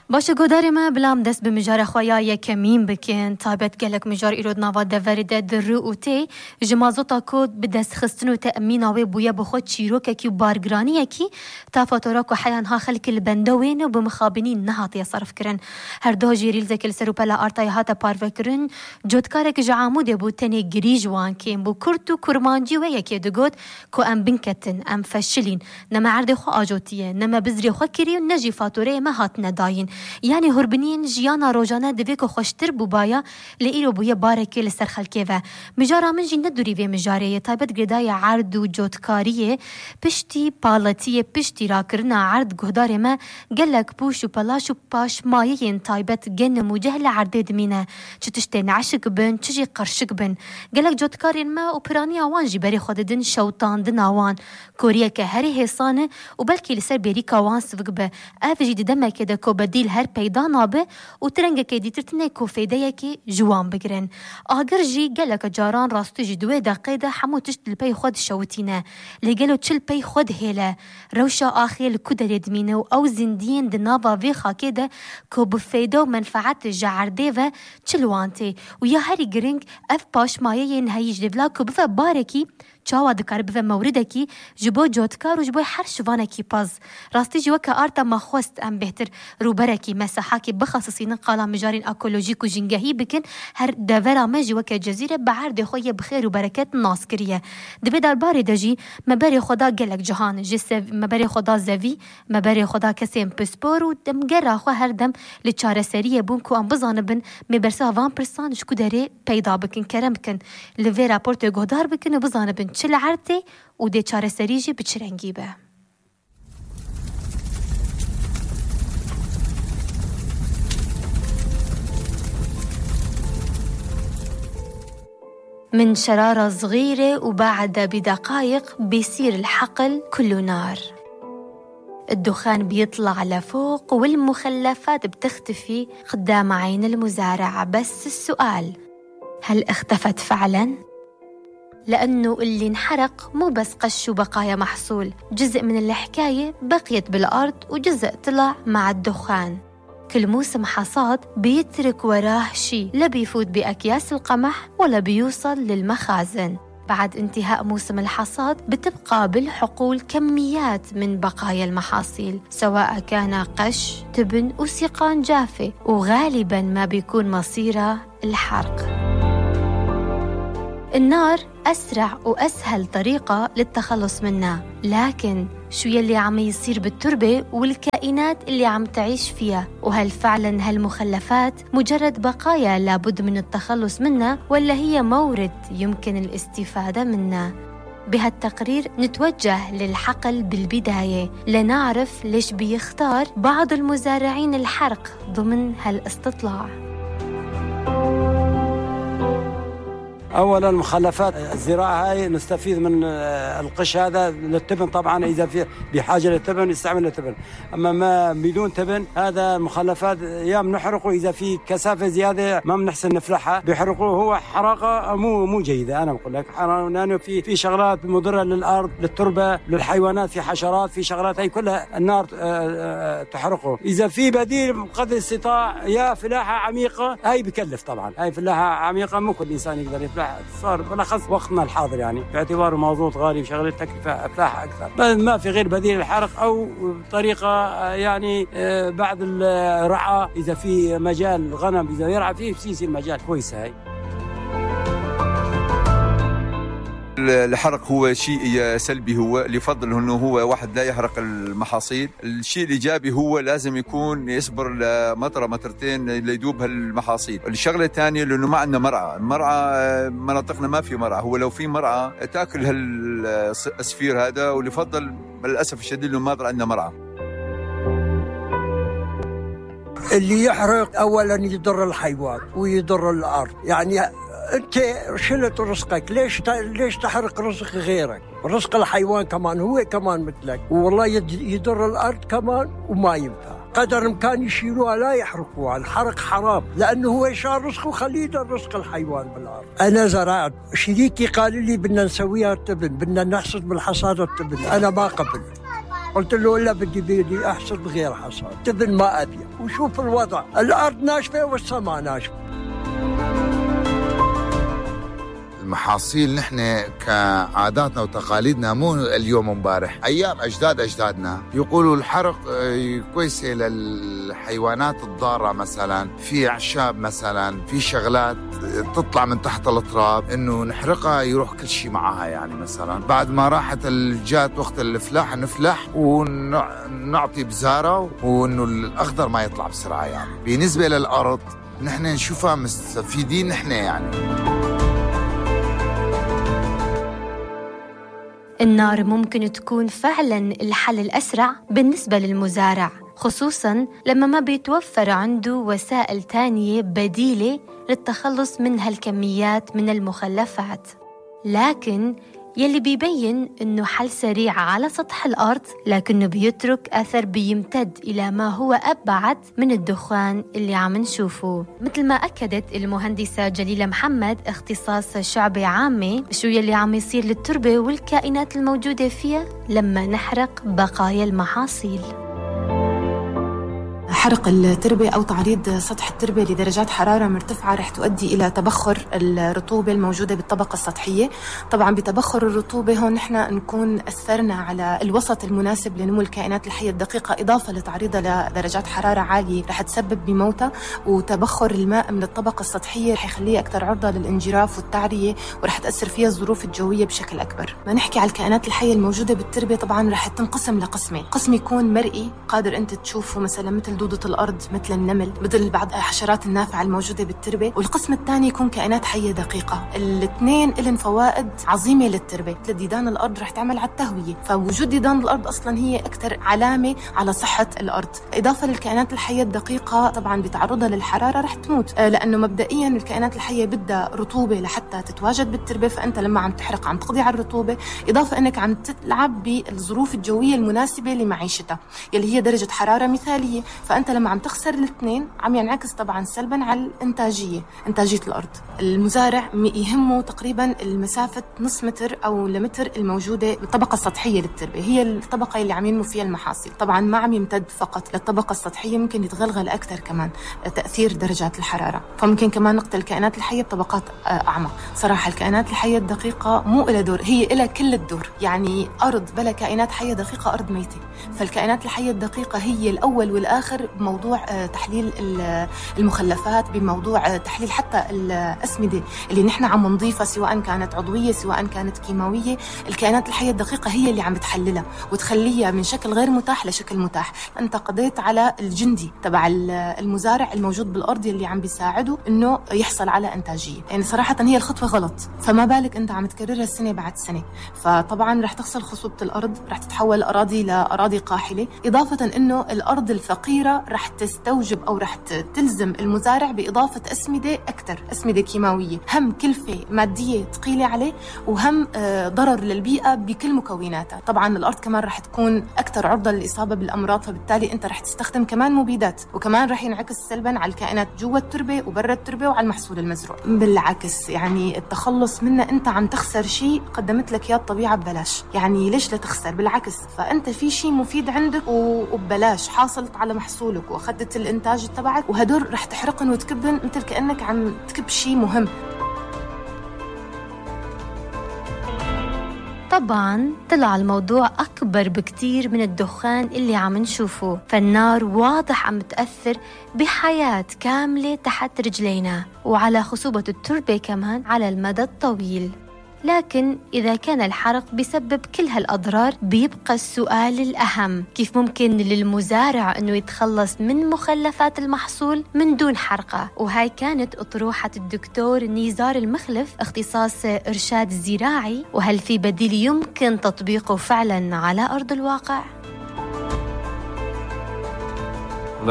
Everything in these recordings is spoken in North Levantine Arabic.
باشه گوداری ما بلام دست به مجار خویا یکمین بکن تایبت گلک مجار ایرود نوا دورده درو و تی جمازوتا کود به دست خستن و تأمین آوی بویا بخود چیروک اکی و بارگرانی اکی تا فاتوراک و حیان ها خلک البندوین و بمخابنی نهاتی صرف کرن هر دو جیریل زکل سرو پلا آرتای هاتا پارو کرن جودکارک جعاموده بود تنه گریج وان کن بو کرد و کرمانجی و یکی دگود که ام بنکتن ام فشلین نما عرض خو آجوتیه نما بزری خو کری و نجی فاتوره ما هات نداین یعنی هربنین جیانا روزانه دویک و خوشتر بوبایا لئیرو بویا بارکی لسر خلکه و مجارا من جی ندوری و مجاره تایبت گردای عرض و جودکاریه پشتی پالتیه پشتی را کرنا عرض گهدار ما گلک پوش و پلاش و پاش مایه تایبت گن موجه لعرده دمینه چه تشتین عشق بن چجی قرشق بن گلک جودکارین ما و پرانی آوان جی بری خوددن شوطان دن آوان کوریا که هری حسانه و بلکی لسر بری کاوان سوگ به افجی دمه که دکو بدیل هر پیدا نابه و ترنگه که دیترتنه کو فیده که جوان بگرن آگر جی گلک جاران راستو جی دوه دقیقه حمو تشت لپی خود شوتینه لگلو چل پی خود هیله روشا آخیل کدر دمینه و او زندین دنابا وی خاکه ده که بفیده و منفعت جعرده و چلوانته و یا هری گرنگ اف پاش مایه نهایج دولا که بفه بارکی چاوا دکار بفه مورده کی جبو جودکار و جبو هر شوانه کی پاز راستی جوا که آرتا ما خوست ام بهتر روبره کی مساحه کی بخصوصی نقالا مجارین اکولوژیک و جنگهی بکن هر دورا ما جوا که جزیره بعرض خوی بخیر و برکت ناس کریه دبی در باری دجی مبری خدا گلک جهان جس مبری خدا زوی مبری خدا کسیم پسپور و دمگر خو هر دم لچاره سریه بون کو ام بزانه بن مبرسا وان پرسان شکو داره پیدا بکن کرم بکن لوی راپورت گودار بکن و بزانه بن چل عرته و ده چاره سریجی بچرنگی به من شرارة صغيرة وبعد بدقائق بيصير الحقل كله نار الدخان بيطلع لفوق والمخلفات بتختفي قدام عين المزارع بس السؤال هل اختفت فعلاً؟ لأنه اللي انحرق مو بس قش وبقايا محصول جزء من الحكاية بقيت بالأرض وجزء طلع مع الدخان كل موسم حصاد بيترك وراه شي لا بيفوت بأكياس القمح ولا بيوصل للمخازن بعد انتهاء موسم الحصاد بتبقى بالحقول كميات من بقايا المحاصيل سواء كان قش تبن وسيقان جافة وغالبا ما بيكون مصيره الحرق النار أسرع وأسهل طريقة للتخلص منها لكن شو يلي عم يصير بالتربة والكائنات اللي عم تعيش فيها وهل فعلا هالمخلفات مجرد بقايا لابد من التخلص منها ولا هي مورد يمكن الاستفادة منها بهالتقرير نتوجه للحقل بالبداية لنعرف ليش بيختار بعض المزارعين الحرق ضمن هالاستطلاع أولاً مخلفات الزراعة هاي نستفيد من القش هذا للتبن طبعاً إذا في بحاجة للتبن يستعمل للتبن أما ما بدون تبن هذا مخلفات يا بنحرقه إذا في كثافة زيادة ما بنحسن نفلحها بيحرقوه هو حرقة مو جيدة أنا بقول لك لأنه في شغلات مضرة للأرض للتربة للحيوانات في حشرات في شغلات هاي كلها النار تحرقه إذا في بديل قدر الاستطاع يا فلاحة عميقة هاي بكلف طبعاً هاي فلاحة عميقة مو كل إنسان يقدر يفلح صار بالأخص وقتنا الحاضر يعني باعتباره موضوع غالي وشغله تكلفة أفلاح أكثر ما في غير بديل الحرق أو طريقة يعني بعد الرعاة إذا في مجال غنم إذا يرعى فيه يصير مجال كويس هاي الحرق هو شيء سلبي هو لفضل انه هو واحد لا يحرق المحاصيل الشيء الايجابي هو لازم يكون يصبر لمطره مطرتين ليدوب هالمحاصيل الشغله الثانيه لانه ما عندنا المرعى مناطقنا ما في مرعى هو لو في مرعى تاكل هالاسفير هذا ولفضل للاسف الشديد انه ما عندنا مرعى اللي يحرق اولا يضر الحيوان ويضر الارض يعني انت شلت رزقك ليش تحرق رزق غيرك رزق الحيوان كمان هو كمان مثلك والله يضر الارض كمان وما ينفع قدر الامكان يشيلوها لا يحرقوها الحرق حرام لانه هو شال رزقه خليه يضر رزق الحيوان بالارض انا زرعت شريكي قال لي بدنا نسويها التبن بدنا نحصد بالحصاد التبن انا ما قبل قلت له لا، بدي أحصد بغير حصاد، تبن ما أبي، وشوف الوضع، الأرض ناشفة والسماء ناشفة. المحاصيل نحن كعاداتنا وتقاليدنا مو اليوم ومبارح، أيام أجدادنا يقولوا الحرق كويسة للحيوانات الضارة، مثلا في أعشاب، مثلا في شغلات تطلع من تحت التراب إنه نحرقها يروح كل شيء معها. يعني مثلا بعد ما راحت الجات وقت الفلاح نفلح ونعطي بزارة، وإنه الأخضر ما يطلع بسرعة. يعني بالنسبة للأرض نحن نشوفها مستفيدين نحن. يعني النار ممكن تكون فعلاً الحل الأسرع بالنسبة للمزارع، خصوصاً لما ما بيتوفر عنده وسائل تانية بديلة للتخلص من هالكميات من المخلفات. لكن يلي بيبين إنه حل سريع على سطح الأرض، لكنه بيترك أثر بيمتد إلى ما هو أبعد من الدخان اللي عم نشوفه، مثل ما أكدت المهندسة جليلة محمد اختصاص شعبة عامة شو يلي عم يصير للتربة والكائنات الموجودة فيها لما نحرق بقايا المحاصيل. حرق التربة أو تعريض سطح التربة لدرجات حرارة مرتفعة رح تؤدي إلى تبخر الرطوبة الموجودة بالطبقة السطحية. طبعا بتبخر الرطوبة هون نحن نكون أثرنا على الوسط المناسب لنمو الكائنات الحية الدقيقة، إضافة لتعريضها لدرجات حرارة عالية رح تسبب بموتها. وتبخر الماء من الطبقة السطحية رح يخليها أكثر عرضة للانجراف والتعرية، ورح تأثر فيها الظروف الجوية بشكل أكبر. ما نحكي على الكائنات الحية الموجودة بالتربة، طبعا رح تنقسم لقسمين. قسم يكون مرئي قادر أنت تشوفه، مثلا مثل دودة الأرض، مثل النمل، مثل بعض الحشرات النافعة الموجودة بالتربة. والقسم الثاني يكون كائنات حية دقيقة. الاثنين لهم فوائد عظيمة للتربة. مثل ديدان الأرض رح تعمل على التهوية، فوجود ديدان الأرض أصلا هي أكثر علامة على صحة الأرض. إضافة للكائنات الحية الدقيقة طبعا بتعرضها للحرارة رح تموت، لأنه مبدئيا الكائنات الحية بدها رطوبة لحتى تتواجد بالتربة، فأنت لما عم تحرق عم تقضي على الرطوبة، إضافة أنك عم تلعب بالظروف الجوية المناسبة لمعيشتها يلي هي درجة حرارة مثالية. فأنت لما عم تخسر الاثنين عم ينعكس طبعا سلبا على إنتاجية الأرض. المزارع يهمه تقريبا المسافة نص متر أو لمتر الموجودة بالطبقة السطحية للتربة، هي الطبقة اللي عم ينمو فيها المحاصيل. طبعا ما عم يمتد فقط للطبقة السطحية، ممكن يتغلغل أكثر كمان تأثير درجات الحرارة، فممكن كمان نقتل الكائنات الحية بطبقات أعمق. صراحة الكائنات الحية الدقيقة مو إلها دور، هي إلها كل الدور. يعني أرض بلا كائنات حية دقيقة أرض ميتة. فالكائنات الحية الدقيقة هي الأول والآخر بموضوع تحليل المخلفات، بموضوع تحليل حتى الأسمدة اللي نحن عم نضيفها، سواء كانت عضوية سواء كانت كيماوية. الكائنات الحية الدقيقة هي اللي عم بتحللها وتخليها من شكل غير متاح لشكل متاح. أنت قضيت على الجندي تبع المزارع الموجود بالأرض اللي عم بيساعده إنه يحصل على إنتاجية. يعني صراحة هي الخطوة غلط، فما بالك أنت عم تكررها السنة بعد سنة. فطبعا رح تخسر خصوبة الأرض، رح تتحول أراضي لأراضي قاحلة، إضافة إنه الأرض الفقيرة رح تستوجب أو رح تلزم المزارع بإضافة أسمدة أكثر، أسمدة كيماوية، هم كلفة مادية ثقيلة عليه، وهم ضرر للبيئة بكل مكوناتها. طبعا الأرض كمان رح تكون أكثر عرضة للإصابة بالأمراض، فبالتالي أنت رح تستخدم كمان مبيدات، وكمان رح ينعكس سلبا على الكائنات جوا التربة وبرا التربة وعلى المحصول المزروع. بالعكس يعني التخلص منه أنت عم تخسر شيء قدمت لك إياه الطبيعة ببلاش. يعني ليش لا تخسر؟ بالعكس، فأنت في شيء مفيد عندك وببلاش حاصلت على محصولك وأخذت الإنتاج تبعك، وهدول رح تحرقن وتكبن مثل كأنك عم تكب شيء مهم. طبعاً طلع الموضوع أكبر بكتير من الدخان اللي عم نشوفه، فالنار واضح عم تأثر بحياة كاملة تحت رجلينا وعلى خصوبة التربة كمان على المدى الطويل. لكن إذا كان الحرق بيسبب كل هالأضرار، بيبقى السؤال الأهم: كيف ممكن للمزارع أنه يتخلص من مخلفات المحصول من دون حرقه؟ وهاي كانت أطروحة الدكتور نيزار المخلف اختصاص إرشاد زراعي، وهل في بديل يمكن تطبيقه فعلا على أرض الواقع؟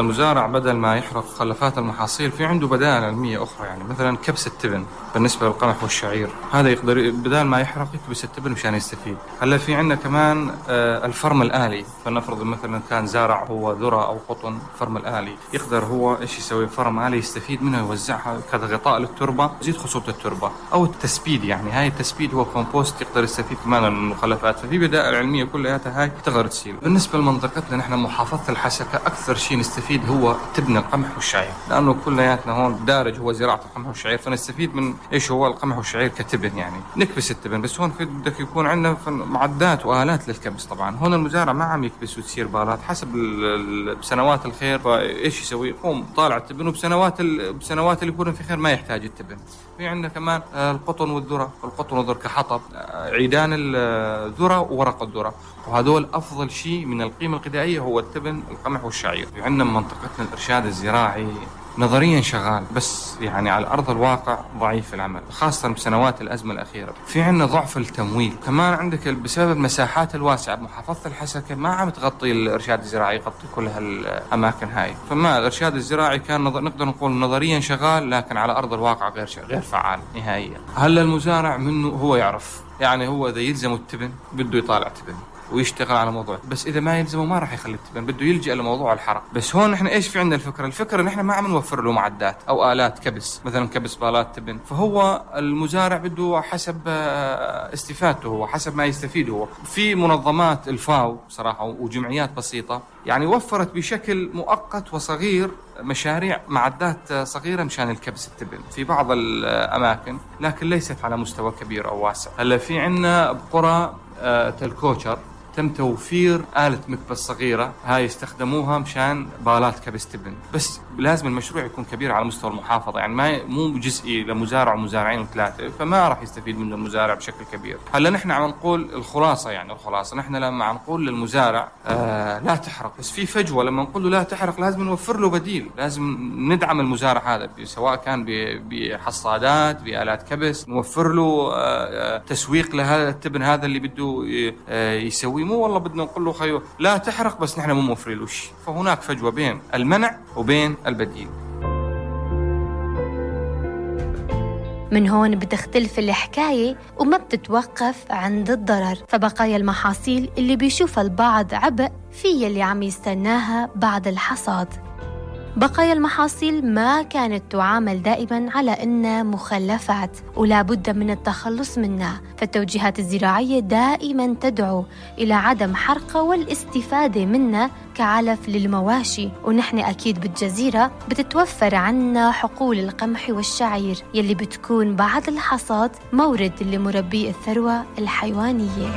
المزارع بدل ما يحرق مخلفات المحاصيل في عنده بدائل علمية أخرى، يعني مثلا كبس التبن بالنسبة للقمح والشعير، هذا يقدر بدل ما يحرق يكبس التبن مشان يستفيد. هلا في عندنا كمان الفرم الآلي، فلنفرض مثلا كان زارع هو ذرة أو قطن، فرم الآلي يقدر هو إيش يسوي، فرم آلي يستفيد منه يوزعها كغطاء للتربة يزيد خصوبة التربة، أو التسبيد، يعني هاي التسبيد هو كومبوست يقدر يستفيد كمان من المخلفات. ففي بدائل علمية كلها هاي تقدر تسير. بالنسبة لمنطقتنا نحن محافظة الحسكة أكثر شيء نستفيد هو تبن القمح والشعير، لأنه كلياتنا هون دارج هو زراعة القمح والشعير، فنستفيد من إيش هو القمح والشعير كتبن، يعني نكبس التبن. بس هون في بدك يكون عندنا معدات وآلات للكبس. طبعا هون المزارع ما عم يكبس وتصير بالات حسب بسنوات الخير، فإيش يسوي، يقوم طالع التبن، وبسنوات اللي يكون في خير ما يحتاج التبن. في عندنا كمان القطن والذرة، القطن والذرة كحطب، عيدان الذرة وورق الذرة، وهذول أفضل شيء من القيمة الغذائية هو التبن، القمح والشعير. في عندنا منطقتنا الإرشاد الزراعي نظريا شغال، بس يعني على أرض الواقع ضعيف العمل، خاصة بسنوات الأزمة الأخيرة. في عندنا ضعف التمويل، كمان عندك بسبب المساحات الواسعة بمحافظة الحسكة ما عم تغطي الإرشاد الزراعي، يغطي كل هالأماكن هاي. فما الإرشاد الزراعي كان نقدر نقول نظريا شغال، لكن على أرض الواقع غير فعال نهائيا. هلا المزارع منه هو يعرف، يعني هو إذا يلزمه التبن بده يطالع تبن ويشتغل على موضوع، بس إذا ما يلزمه ما راح يخلي التبن، بده يلجأ لموضوع الحرق. بس هون نحن إيش في عندنا الفكرة نحن ما عم نوفر له معدات أو آلات كبس، مثلا كبس بالات تبن، فهو المزارع بده حسب استفادته هو، حسب ما يستفيد هو. في منظمات الفاو صراحة وجمعيات بسيطة يعني وفرت بشكل مؤقت وصغير مشاريع معدات صغيرة مشان الكبس التبن في بعض الأماكن، لكن ليست على مستوى كبير أو واسع. هلا في عندنا بقرى تلكوشر تم توفير آلة مكبس صغيرة، هاي يستخدموها مشان بالات كبس تبن، بس لازم المشروع يكون كبير على مستوى المحافظة، يعني مو جزئي لمزارع ومزارعين وثلاثة، فما راح يستفيد منه المزارع بشكل كبير. هلا نحن عم نقول الخلاصة نحن لما عم نقول للمزارع لا تحرق، بس في فجوة لما نقول له لا تحرق لازم نوفر له بديل، لازم ندعم المزارع هذا سواء كان بحصادات بآلات كبس، نوفر له تسويق لهذا التبن هذا اللي بده يسوي، مو والله بدنا نقول له خيو لا تحرق بس نحن مو موفرين له شيء. فهناك فجوة بين المنع وبين البديل. من هون بتختلف الحكاية وما بتتوقف عند الضرر، فبقايا المحاصيل اللي بيشوفها البعض عبء في اللي عم يستناها بعد الحصاد. بقايا المحاصيل ما كانت تعامل دائماً على إنها مخلفات ولا بد من التخلص منها، فالتوجيهات الزراعية دائماً تدعو إلى عدم حرقها والاستفادة منها كعلف للمواشي. ونحن أكيد بالجزيرة بتتوفر عنا حقول القمح والشعير يلي بتكون بعد الحصاد مورد لمربي الثروة الحيوانية.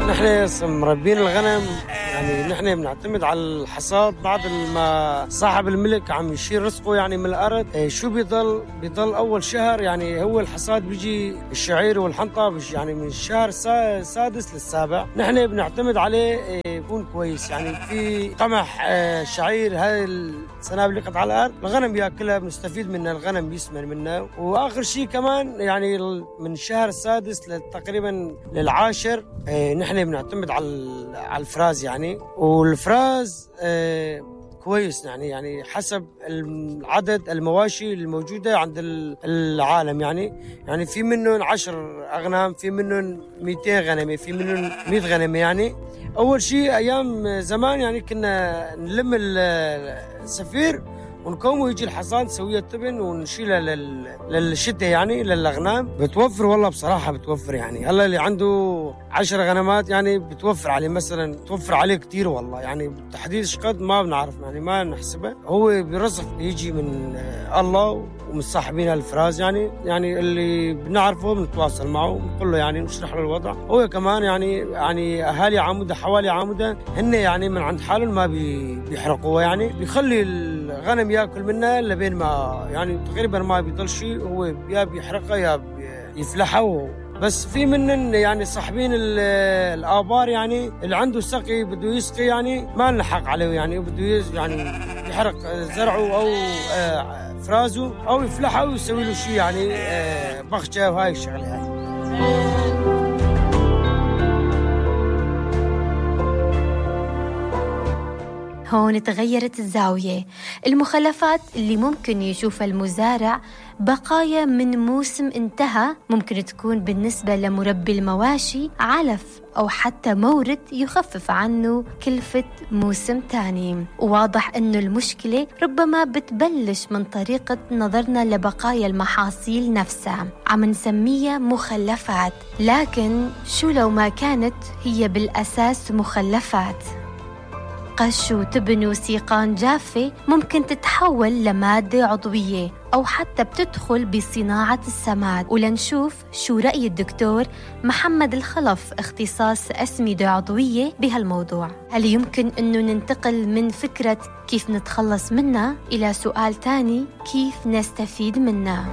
نحن مربين الغنم، يعني نحن بنعتمد على الحصاد بعد ما صاحب الملك عم يشيل رزقه يعني من الأرض. شو بيضل أول شهر، يعني هو الحصاد بيجي الشعير والحنطة يعني من الشهر السادس للسابع، نحن بنعتمد عليه يكون كويس. يعني في قمح شعير هاي السنابل اللي قطع على الأرض الغنم بياكلها، بنستفيد منها، الغنم بيسمن منها. وآخر شيء كمان يعني من الشهر السادس تقريبا للعاشر نحن بنعتمد على الفراز يعني، والفراز كويس يعني حسب العدد المواشي الموجودة عند العالم، يعني في منهم 10 أغنام، في منهم 200 غنمة، في منهم 100 غنمة. يعني أول شيء أيام زمان يعني كنا نلم السفير ونقوم ويجي الحصاد نسويها التبن ونشيلها للشتاء يعني للأغنام. بتوفر والله بصراحة بتوفر، يعني هلا اللي عنده 10 غنمات يعني بتوفر عليه مثلا، توفر عليه كتير والله، يعني بالتحديد شقد ما بنعرف يعني ما نحسبه، هو برزق يجي من الله ومن صاحبين الفراز. يعني اللي بنعرفه بنتواصل معه بنقول له يعني نشرح له الوضع. هو كمان يعني أهالي عمودة حوالي عمودة هن يعني من عند حالهم ما بيحرقوا، يعني بيخلي الغنم ياكل منها لبين ما يعني تقريبا ما بيضل شيء، هو يا بيحرقها يا يفلحها. بس في منن يعني صاحبين الآبار يعني اللي عنده سقي بده يسقي يعني ما نلحق عليه، يعني بده يعني يحرق زرعه أو فرازه أو يفلحه ويسوي له شيء يعني بخشة وهاي الشغلة هاي. هون تغيرت الزاوية. المخلفات اللي ممكن يشوفها المزارع بقايا من موسم انتهى، ممكن تكون بالنسبة لمربي المواشي علف أو حتى مورد يخفف عنه كلفة موسم تاني. وواضح أنه المشكلة ربما بتبلش من طريقة نظرنا لبقايا المحاصيل نفسها، عم نسميها مخلفات، لكن شو لو ما كانت هي بالأساس مخلفات؟ قش وتبن وسيقان جافة ممكن تتحول لمادة عضوية أو حتى بتدخل بصناعة السماد. ولنشوف شو رأي الدكتور محمد الخلف اختصاص أسمدة عضوية بهالموضوع. هل يمكن أنه ننتقل من فكرة كيف نتخلص منها إلى سؤال تاني، كيف نستفيد منها؟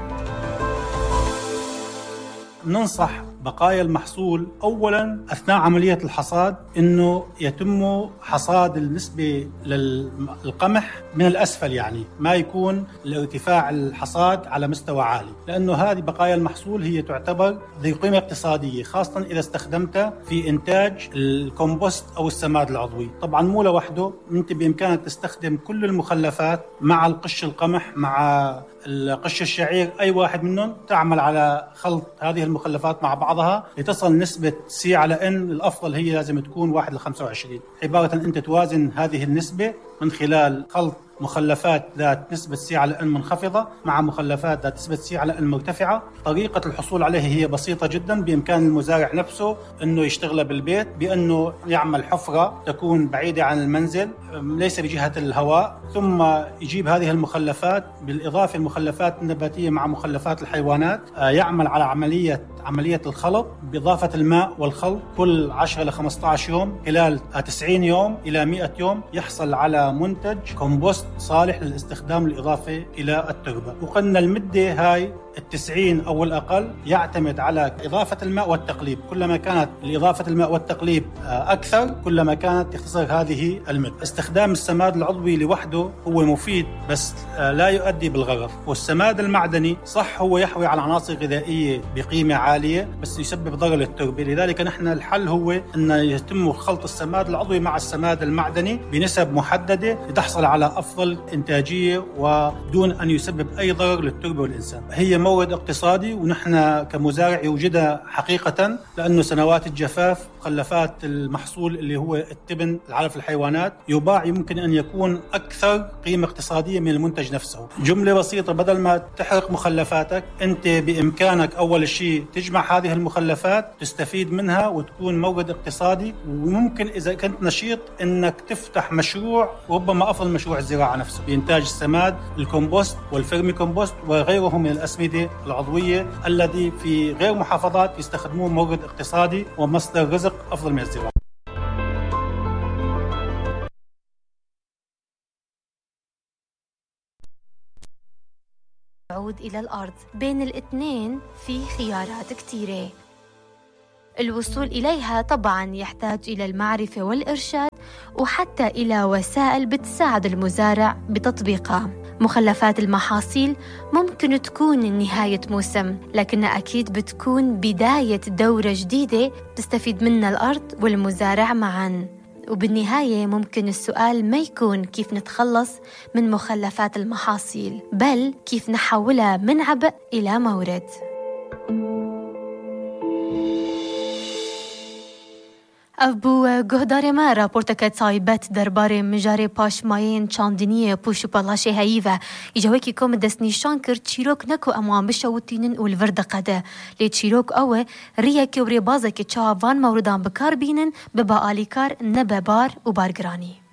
ننصح بقايا المحصول أولاً أثناء عملية الحصاد أنه يتم حصاد النسبة للقمح من الأسفل، يعني ما يكون الارتفاع الحصاد على مستوى عالي، لأنه هذه بقايا المحصول هي تعتبر ذي قيمة اقتصادية، خاصة إذا استخدمتها في إنتاج الكومبوست أو السماد العضوي. طبعاً مو لوحده، أنت بإمكانك تستخدم كل المخلفات مع القش القمح مع القش الشعير، أي واحد منهم تعمل على خلط هذه المخلفات مع بعضها لتصل نسبة C على N. الأفضل هي لازم تكون 1:25، عبارة أنت توازن هذه النسبة من خلال خلط مخلفات ذات نسبة C على N منخفضة مع مخلفات ذات نسبة C على N مرتفعة. طريقة الحصول عليها هي بسيطة جدا، بإمكان المزارع نفسه أنه يشتغل بالبيت بأنه يعمل حفرة تكون بعيدة عن المنزل ليس بجهة الهواء، ثم يجيب هذه المخلفات بالإضافة المخلفات النباتية مع مخلفات الحيوانات، يعمل على عملية الخلط بإضافة الماء والخلط كل 10 إلى 15 يوم. خلال 90 يوم إلى 100 يوم يحصل على منتج كومبوست صالح للاستخدام الإضافة إلى التربة. وقلنا المدة هاي 90 أو الأقل يعتمد على إضافة الماء والتقليب. كلما كانت إضافة الماء والتقليب أكثر كلما كانت تختصر هذه المدة. استخدام السماد العضوي لوحده هو مفيد بس لا يؤدي بالغرض. والسماد المعدني صح هو يحوي على عناصر غذائية بقيمة عالية بس يسبب ضرر للتربة، لذلك نحن الحل هو أن يتم خلط السماد العضوي مع السماد المعدني بنسب محددة لتحصل على أفضل إنتاجية ودون أن يسبب أي ضرر للتربة والإنسان. هي مورد اقتصادي ونحن كمزارع يوجدها حقيقة، لأنه سنوات الجفاف مخلفات المحصول اللي هو التبن العلف الحيوانات يباع يمكن أن يكون أكثر قيمة اقتصادية من المنتج نفسه. جملة بسيطة، بدل ما تحرق مخلفاتك أنت بإمكانك أول شيء تجمع هذه المخلفات تستفيد منها وتكون مورد اقتصادي، وممكن إذا كنت نشيط أنك تفتح مشروع ربما أفضل مشروع الزراعة نفسه بإنتاج السماد الكومبوست والفيرمي كومبوست وغيره من الأسمدة العضوية الذي في غير محافظات يستخدموه مورد اقتصادي ومصدر رزق أفضل من الزراعة. عود إلى الأرض. بين الاثنين في خيارات كتيرة، الوصول إليها طبعاً يحتاج إلى المعرفة والإرشاد وحتى إلى وسائل بتساعد المزارع بتطبيقها. مخلفات المحاصيل ممكن تكون نهاية موسم، لكنها أكيد بتكون بداية دورة جديدة تستفيد منها الأرض والمزارع معاً. وبالنهاية ممكن السؤال ما يكون كيف نتخلص من مخلفات المحاصيل، بل كيف نحولها من عبء إلى مورد. ابو گهدار ما راپورتک تایبت درباره مجاری پاشماین چاندنی پوش و پلاشه هیوه ایجاوی کم دست نشان کرد چیروک نکو اما بشوتینن و الورد قده لی چیروک اوه ریه که وری بازه که چاوان موردان بکار بینن ببا آلیکار نبه بار و بارگرانی.